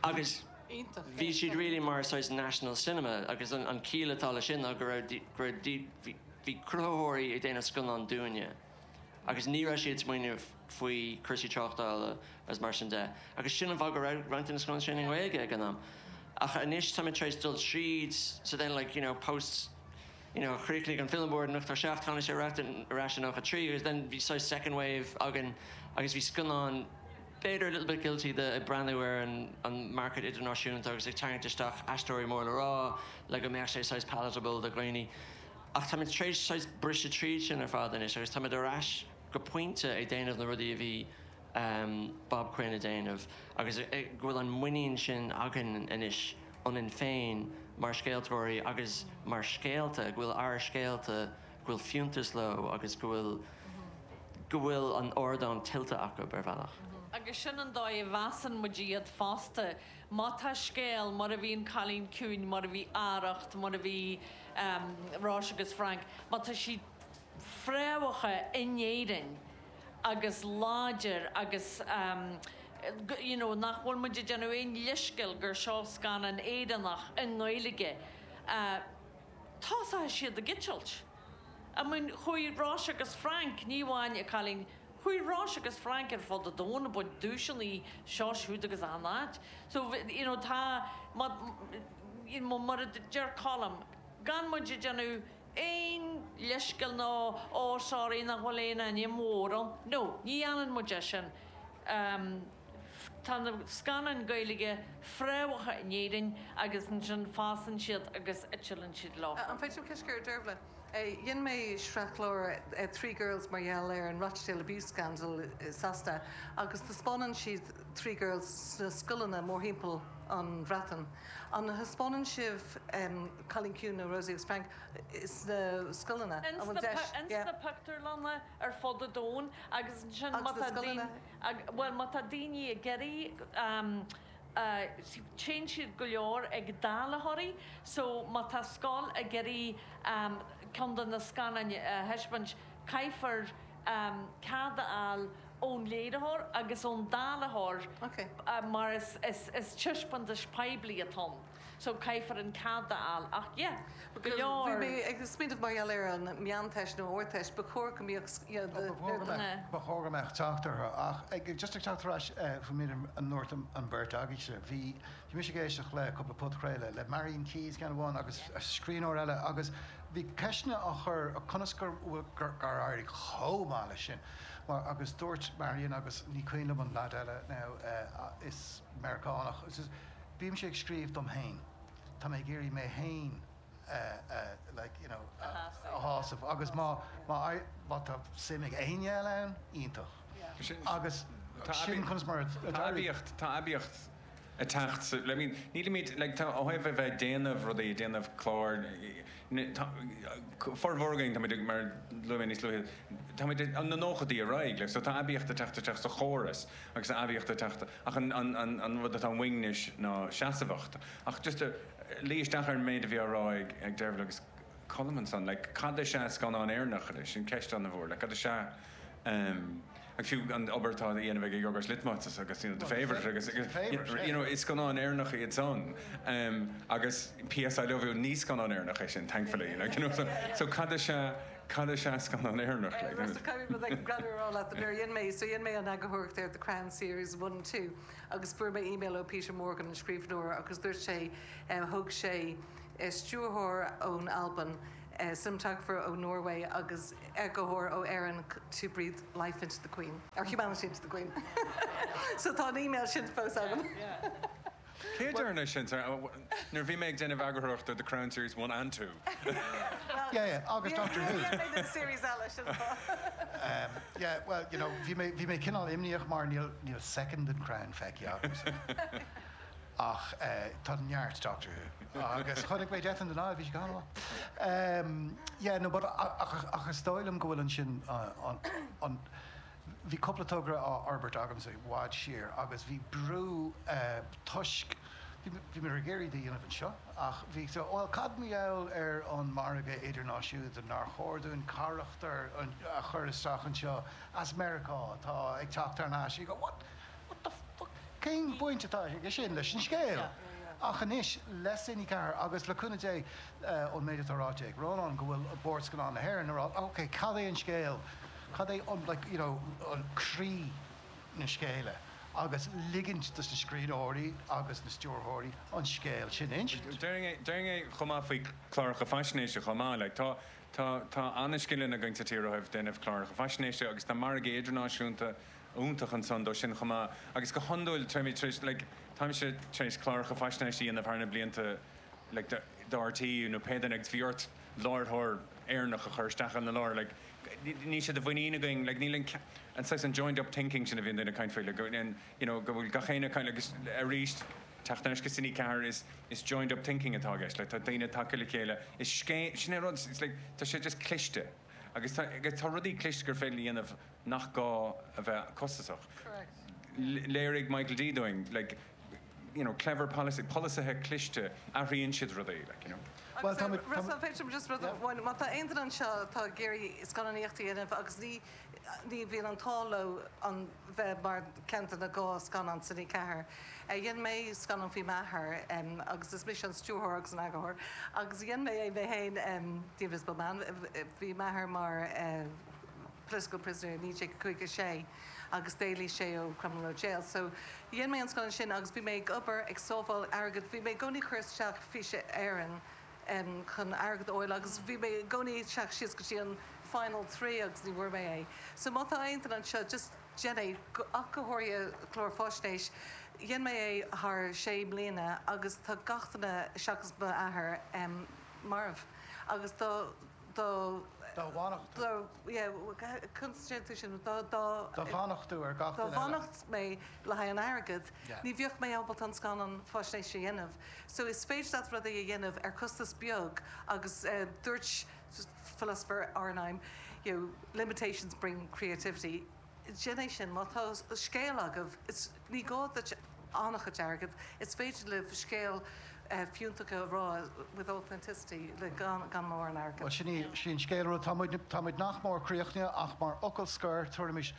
agus bhí siad really mar saghas national cinema agus an ciall atá leis sin ná go raibh, go raibh, bhí cruthaitheoirí ag déanamh scannán dúinne. Agus ní raibh siad ag smaoineamh faoi cúrsaí tráchtála agus mar sin de. Agus sin an fáth go raibh roinnt de na scannáin sin i nGaeilge ag an am. Ach anois táimid tar éis dul tríd, so then like, you know, post, you know, chríochnaigh an Film Board in 87, tháinig sé ar ais in 93 agus then bhí saghas second wave againn agus bhí scannáin b'fhéidir a little bit guilty de ag breathnú ar an market idirnáisiúnta agus ag tarraingt isteach aisteoirí mór le rá le go mbeadh sé saghas palatable do dhaoine. Ach táimid tar éis saghas briseadh tríd sin ar fad anois agus táimid ar ais go pointe ag déanamh na rudaí a bhí Bob Quinn ag déanamh agus go bhfuil an muinín sin againn anois ionainn féin mar scéaltóirí agus mar scéalta, go bhfuil ár scéalta, go bhfuil fiúntas leo agus go bhfuil, go bhfuil an ardán tuillte acu ar bhealach. Agus sin an dóigh a mheasann muid iad fosta. Má tá scéal, mar a bhí An Cailín Ciúin, mar a bhí Arracht, mar a bhí Róise agus Frank, má tá siad fréamhaithe in Éirinn agus láidir agus you know nach bhfuil muid ag déanamh aon leithscéal gur seo scannán Éireannach i nGaeilge, tosóidh siad ag eitilt. I mean chuaigh Róise agus Frank, ní amháin An Cailín Chuaigh Róise agus Frank ar fud an domhain ag baint duaiseanna seo siúd agus achan áit. So, you know, tá, má, you know, mar a deir Colm, gan muid ag déanamh aon leithscéal nó oh sorry nach bhfuil aon ainm mhór ann. No, ní dhéanann muid é sin. Tá na scannáin Gaeilge fréamhaithe in Éirinn agus ansin fásann siad agus eitileann siad leo. An féidir liom ceist a chur ar Dervla? Dhein mé sraith chlár Three Girls mar gheall ar an Rochdale Abuse Scandal i Sasana agus taispeánann siad Three Girls sna scoileanna mórthimpeall an Bhreatain. An thaispeánann sibh Cailín Ciúin nó Rosie agus Frank sna scoileanna? An bhfuil deis? Ins na pictiúrlanna ar fud an domhain agus ansin má tá daoine, bhuel má tá daoine ag iarraidh, Téann siad go leor ag dáilitheoirí so má tá scoil ag iarraidh ceann de na scannáin a thaispeáint caithfear cead a fháil ón léiritheoir agus ón dáilitheoir mar is taispeántas poiblí atá ann. So caithfear an cead a fháil ach yeah, go leor. Bhí mé ag smaoineamh mar gheall ar an Meánteist nó Ardteist, ba chóir go mbeadh you know the. Ba chóir go mbeadh teacht orthu ach ag just ag teacht ar ais faoin méid a ndúirt an bheirt agaibhse, bhí bhí mise ag éisteacht le cúpla podchraoladh le Marian Keyes ceann amháin agus scríbhneoir eile agus bhí ceisteanna á chur conas gur gur éirigh chomh maith leis sin mar agus dúirt Marian agus ní cuimhin liom an leaid eile now is Meiriceánach Bímse ag scríobh dom féin. Tá mé ag iarraidh mé féin a like you know a shásamh agus má má má tá suim ag éinne eile ann, iontach. Agus sin conas mar a Tá aibíocht, tá aibíocht ag teacht sa, I mean nílimid like tá ó thaobh a bheith ag déanamh rudaí, ag déanamh clár, tá formhór againn táimid ag mar luaigh mé níos luaithe, táimid ag na nóchaidí ar aghaidh like so tá aibíocht ag teacht isteach sa chóras agus tá aibíocht ag teacht Ach an rud atá uainn anois ná seasmhacht. Ach just a luí isteach ar an méid a bhí á rá ag Dervla agus Colm ansan, like cad is ea scannán Éireannach anois? Sin ceist an-mhór. Like cad is ea agus fiú an obair atá á dhéanamh ag Yorgos Lanthimos agus you know The Favourite agus you know is scannáin Éireannacha iad san agus PS I Love You ní scannán Éireannach é sin thankfully like you know so so cad is ea. Cad is ea scannán Éireannach? Like, Russell, caithfidh mé rud éigin greannmhar a rá leat. Nuair a dhein mé, so dhein mé an eagarthóireacht ar The Crown Series 1, 2 agus fuair mé email ó Peter Morgan, an scríbhneoir, agus dúirt sé, thóg sé stiúrthóir ón Albain, cinematographer ó Norway agus eagarthóir ó Éirinn to breathe life into the Queen, or humanity into the Queen. So tá an email sin fós agam. Cé a deir sin? Nuair a bhí mé ag déanamh eagarthóireachta ar The Crown Series 1 and 2. Yeah, yeah, agus Doctor Who. Níor dhein mé na series eile, sin an fáth. Yeah, well, you know, bhí mé, bhí mé cineál imníoch mar níl, níl soicind den Crown feicthe agamsa. Ach tá neart Doctor Who. Agus chonaic mé Death in the Nile, bhí sé go han-mhaith. Yeah, no, but ach, ach is dóigh liom go bhfuil ansin an, an, Bhí cúpla togra á fhorbairt agamsa i bhfad siar agus bhí brú toisc, bhí mé ag iarraidh iad a dhéanamh anseo ach bhí so, bhuel cad mar gheall ar an margadh idirnáisiúnta, nár chóir dúinn carachtar a chur isteach anseo as Meiriceá atá ag teacht thar n-ais, you go what, what the fuck, cén bhaint atá aige sin leis an scéal? Ach anois le Cine 4 agus le cúnamh Dé ón méid atá ráite ag Rónán go bhfuil Bord Scannán na hÉireann ag rá ok cad é an scéal, Cad é an, like, you know, an croí na scéala agus ligint dos na scríbhneoirí agus na stiúrthóirí an scéal sin a insint. Déarfainn é chomh maith faoi chláracha faisnéise chomh maith. Like, tá, tá, tá an-scileanna againn sa tír ó thaobh déanamh cláracha faisnéise agus tá margaí idirnáisiúnta iontach ansan dó sin chomh maith. Agus go hiondúil, táimid tar éis, like, táimse tar éis cláracha faisnéise a dhéanamh thar na blianta, like, do RTÉ nó pé duine agus bhí ort láithreoir Éireannach a chur isteach ina lár, like, níl sé de mhuinín againn, like, níl an, an saghas an joined up thinking sin a bhíonn daoine ag caint faoi, like, an, you know, go bhfuil gach éinne ag caint, agus arís, teacht ar ais go Cine 4, is, is joined up thinking atá i gceist, like, tá daoine tagtha le chéile, is scéim, sin é an rud, it's like, tá sé just cliste, agus tá, agus tá rudaí cliste gur féidir a dhéanamh nach gá a bheith costasach. Correct. Léirigh Michael D dúinn, like, you know, clever policy, polasaithe cliste, athraíonn siad rudaí, like, you know. Bhuel, tá muid, Russell, an féidir liom just rud amháin, má tá aon duine anseo atá ag iarraidh scannánaíocht a dhéanamh agus ní, ní bhíonn an t-ádh leo an bheith mar ceann de na 2 scannán Cine 4. Dhein mé scannán faoi m'athair agus is mise an stiúrthóir agus an eagarthóir agus dhein mé é mé féin, The Invisible Man, bhí m'athair mar political prisoner i 1956. agus d'éalaigh sé ó Crumlin Road Jail. So, dhein mé an scannán sin agus bhí mé ag obair, ag sábháil airgead, bhí mé i gcónaí ag cur isteach Fís Éireann chun airgead a fháil agus bhí mé i gcónaí ag teacht síos go dtí an final 3 agus ní bhfuair mé é. So má tá aon duine anseo, just déan é, ach go háirithe clár faisnéis. Dhein mé é thar sé mbliana agus tá gach duine seachas m'athair marbh agus dá Dá. Dá bhfanacht tú. Dá, yeah, conas a deir tú sin, dá, dá. Dá bhfanacht tú ar gach duine eile. Dá bhfanacht mé le haghaidh an airgid, ní bheadh mé ábalta an scannán faisnéise a dhéanamh. So is féidir leat rudaí a dhéanamh ar costas beag agus dúirt philosopher R9, you know, limitations bring creativity. Déan é sin. Má tá scéal agaibh, is, ní gá duit an-chuid airgid, is féidir libh scéal fiúntach a rá with authenticity le gan gan mórán airgid. Bhuel, sin í, sin scéal rud. Tá muid, tá muid nach mór críochnaithe ach mar fhocal scoir, tabharaimis,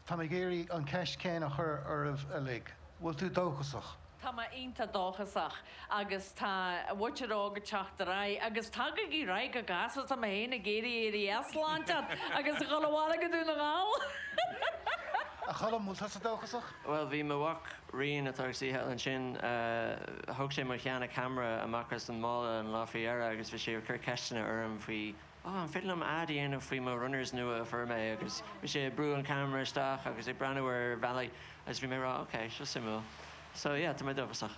tá mé ag iarraidh an cheist chéanna a chur oraibh uilig. Bhfuil tú dóchasach? Tá mé iontach dóchasach agus tá an mhuintir óg ag teacht ar aghaidh agus tagaigí ar aghaidh go gasta, tá mé féin ag iarraidh éirí as sláinte agus a dhul abhaile go Dún na nGall! A Choilm, bhfuil tusa dóchasach? Bhuel, bhí mo mhac Rian, atá ag suí thall ansin, thóg sé mo sheana camera amach as an mála an lá faoi dheireadh agus bhí sé ag cur ceisteanna orm faoi oh, an féidir liom ad a dhéanamh faoi mo runners nua a fuair mé agus bhí sé ag brú an camera isteach agus ag breathnú ar bhealaí agus bhí mé ag rá ok, seo suimiúil. So yeah, tá mé dóchasach.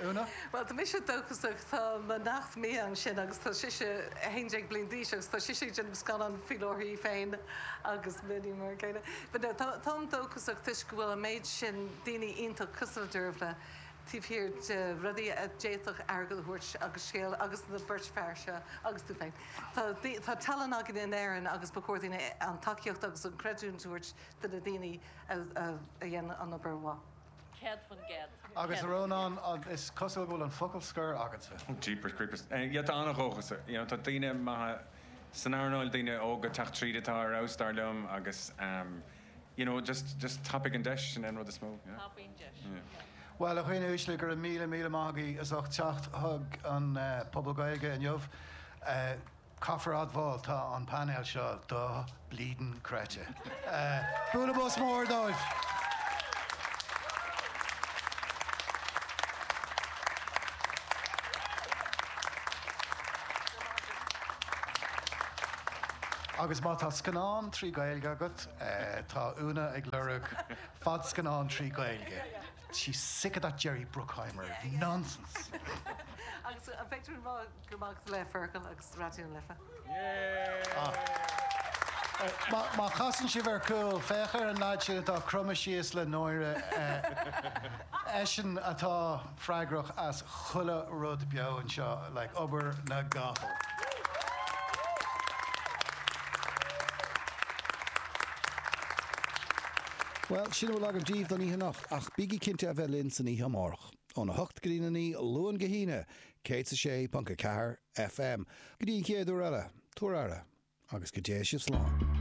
Úna? Bhuel, tá mise dóchasach. Tá mo neacht Mia ansin agus tá sise 11 bliain d'aois agus tá sise ag déanamh scannán faoi láthair í féin agus m'iníon mar an gcéanna. But no, tá, táim dóchasach toisc go bhfuil an méid sin daoine iontach cosúil le Dearbhla taobh thiar de rudaí a d'fhéadfadh airgead a thabhairt agus scéal agus na beirt fear seo agus tú féin. Tá, tá tallann againn in Éirinn agus ba chóir dúinn an tacaíocht agus an creidiúint a thabhairt do na daoine a, a, a dhéanann an obair mhaith. 100%. Agus a Rónáin, is cosúil go bhfuil an focal scoir agatsa. Jeepers creepers. Yeah, tá an-dhóchas. You know, tá daoine maithe san earnáil, daoine óga ag teacht tríd atá ar fheabhas dar liom agus you know, just, just tapaigh an deis, sin é an rud is mó. Yeah. Tapaigh an deis. Yeah. Bhuel, a dhaoine uaisle, go raibh míle míle maith agaibh as ucht teacht chuig an Phuball Gaeilge inniu. Caithfear a admháil, tá an painéal seo do bleedin' creidte. Bualadh bos mór dóibh! Agus má tá scannán tri Gaeilge agat, tá Úna ag lorg fadscannán tri Gaeilge. She's sick of that Jerry Bruckheimer nonsense. Agus an féidir liom rá go raibh maith agat le Fergal agus Raidió na Life? Má chasann sibh ar cúl, féach ar an leaid sin atá cromtha síos le náire. Eisean atá freagrach as chuile rud beo anseo, like obair na gcapall. Bhuel, sin a bhfuil agam daoibh don oíche anocht, ach bígí cinnte a bheith linn san oíche amárach, óna hocht go dtí a naoi, Luan go hAoine, 106.4 FM. Go dtí an chéad uair eile, tabhair aire, agus go dté sibh slán.